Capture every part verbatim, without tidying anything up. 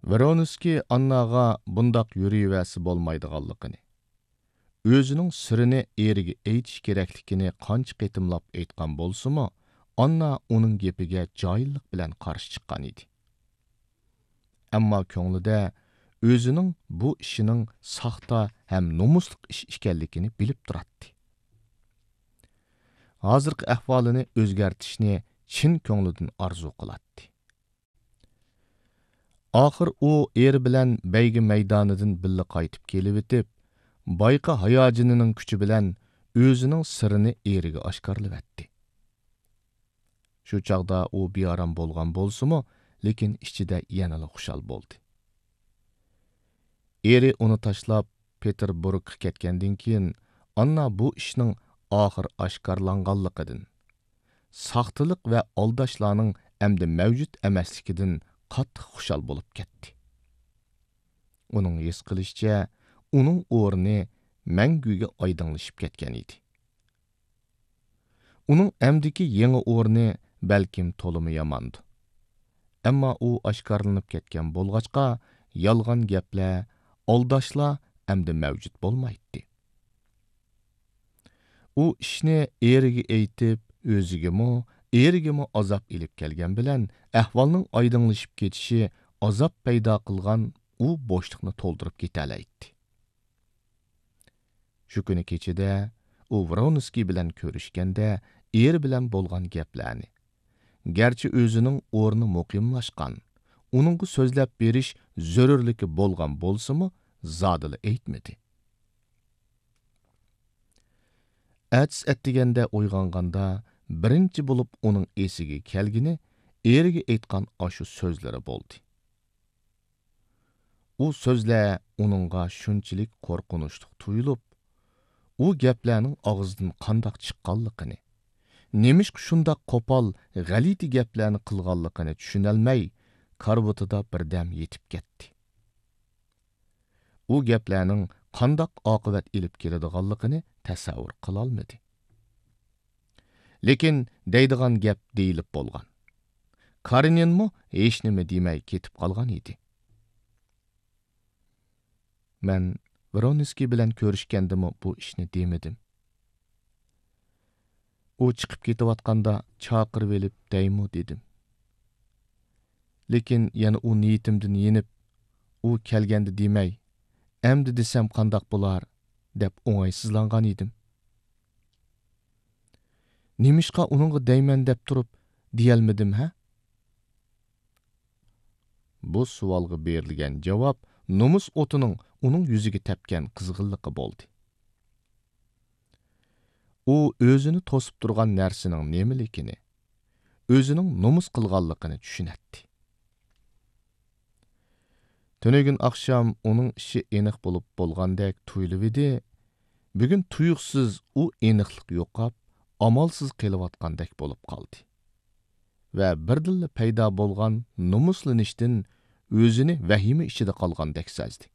ۋرونسكىي ئانناغا بۇنداق يۈرۈۋەرسە بولمايدىغانلىقىنى، ئۆزىنىڭ سىرىنى ئېرىگە ئېيتىش كېرەكلىكىنى قانچە قېتىملاپ ئېيتقان بولسىمۇ، ئاننا ئۇنىڭ گېپىگە جاھىللىق بىلەن قارشى چىققان ئىدى. ئەمما كۆڭلىدە ئۆزىنىڭ بۇ ئىشىنىڭ ساختا ھەم نومۇسلۇق ئىش ئىكەنلىكىنى بىلىپ تۇراتتى. ھازىرقى ئەھۋالىنى ئۆزگەرتىشنى چىن كۆڭلىدىن ئارزۇ قىلاتتى. ئاخىر ئۇ ئېرى بىلەن بەيگە مەيدانىدىن بىللە قايتىپ كېلىۋېتىپ، بايىقى ھاياجىنىنىڭ كۈچى بىلەن ئۆزىنىڭ سىرىنى ئېرىگە ئاشكارىلىۋەتتى. شۇ چاغدا ئۇ بىئارام بولغان بولسىمۇ، لېكىن ئىچىدە يەنىلا خۇشال بولدى. ئېرى ئۇنى تاشلاپ، پېتېربۇرگقا كەتكەندىن كېيىن، ئاننا بۇ ئىشنىڭ ئاخىر ئاشكارىلانغانلىقىدىن، ساختىلىق ۋە ئالداشلارنىڭ ئەمدى مەۋجۇت ئەمەسلىكىدىن قاتتىق خۇشال بولۇپ كەتتى. ئۇنىڭ ھېس قىلىشىچە، ئۇنىڭ ئورنى مەڭگۈگە ئايدىڭلىشىپ كەتكەن ئىدى. ئۇنىڭ ئەمدىكى يېڭى ئورنى بەلكىم تولىمۇ ياماندۇ. ئەمما ئۇ ئاشكارىلىنىپ كەتكەن بولغاچقا، يالغان گەپلەر، ئالداشلار ئەمدى مەۋجۇت بولمايتتى. ئۇ ئىشنى ئېرىگە ئېيتىپ، ئۆزىگىمۇ، ئېرىگىمۇ ئازاب ئېلىپ كەلگەن بىلەن، ئەھۋالنىڭ ئايدىڭلىشىپ كېتىشى ئازاب پەيدا قىلغان ئۇ بوشلۇقنى تولدۇرۇپ كېتەلەيتتى. شۇ كۈنى كېچىدە ئۇ ۋرونسكىي بىلەن كۆرۈشكەندە، ئېرى بىلەن بولغان گەپلەرنى، گەرچە ئۆزىنىڭ ئورنى مۇقىملاشقان، ئۇنىڭغا سۆزلەپ بېرىش زۆرۈرلۈكى بولغان بولسىمۇ، زادىلا ئېيتمىدى. ئەتىسى ئەتىگەندە ئويغانغاندا، بىرىنچى بولۇپ ئۇنىڭ ئېسىگە كەلگىنى ئېرىگە ئېيتقان ئاشۇ سۆزلىرى بولدى. ئۇ سۆزلەر ئۇنىڭغا شۇنچىلىك قورقۇنچلۇق تۇيۇلۇپ، ئۇ گەپلەرنىڭ ئاغزىدىن قانداق چىققانلىقىنى، نېمىشقا شۇنداق قوپال، غەلىتە گەپلەرنى قىلغانلىقىنى چۈشىنەلمەي، كارىۋىتىدا بىردەم يېتىپ كەتتى. ئۇ گەپلەرنىڭ قانداق ئاقىۋەت ئېلىپ كېلىدىغانلىقىنى تەسەۋۋۇر قىلالمىدى. لېكىن دەيدىغان گەپ دېيىلىپ بولغان. كارېنىنمۇ ھېچنېمە دېمەي كېتىپ قالغان ئىدى. مەن ۋرونسكىي بىلەن كۆرۈشكەندىمۇ بۇ ئىشنى دېمىدىم. ئۇ چىقىپ كېتىۋاتقاندا چاقىرىۋېلىپ دەيمۇ دېدىم. لېكىن يەنە ئۇ نىيىتىمدىن يېنىپ، ئۇ كەلگەندە دېمەي، ئەمدى دېسەم قانداق بولار، دەپ ئوڭايسىزلانغان ئىدىم. نېمىشقا ئۇنىڭغا دەيمەن دەپ تۇرۇپ دېيەلمىدىم، ھە؟ بۇ سوئالغا بېرىلگەن جاۋاب نومۇس ئوتىنىڭ ئۇنىڭ يۈزىگە تەپكەن قىزغىنلىقى بولدى. ئۇ ئۆزىنى توسۇپ تۇرغان نەرسىنىڭ نېمىلىكىنى، ئۆزىنىڭ نومۇس قىلغانلىقىنى چۈشىنەتتى. تۈنۈگۈن ئاخشام ئۇنىڭ ئىشى ئېنىق بولۇپ بولغاندەك تۇيۇلۇۋىدى، بۈگۈن تۇيۇقسىز ئۇ ئېنىقلىق يوقاپ، ئامالسىز قېلىۋاتقاندەك بولۇپ قالدى ۋە بىردىنلا پەيدا بولغان نومۇسلىنىشتىن ئۆزىنى ۋەھىمە ئىچىدە قالغاندەك سەزدى.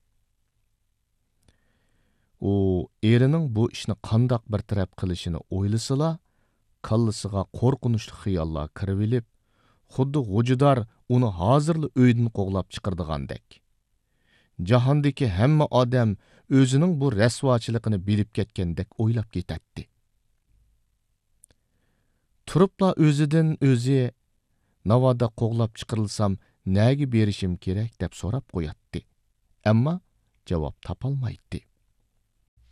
ئۇ ئېرىنىڭ بۇ ئىشنى قانداق بىر تەرەپ قىلىشىنى ئويلىسىلا، كاللىسىغا قورقۇنچلۇق خىياللار كىرىۋېلىپ، خۇددى غوجىدار ئۇنى ھازىرلا ئۆيدىن قوغلاپ چىقىرىدىغاندەك، جاھاندىكى ھەممە ئادەم ئۆزىنىڭ بۇ رەسۋاچىلىقىنى بىلىپ كەتكەندەك ئويلاپ كېتەتتى. تۇرۇپلا ئۆزىدىن ئۆزى، «ناۋادا قوغلاپ چىقىرىلسام، نەگە بېرىشىم كېرەك؟» دەپ سوراپ قوياتتى. ئەمما جاۋاب تاپالمايتتى.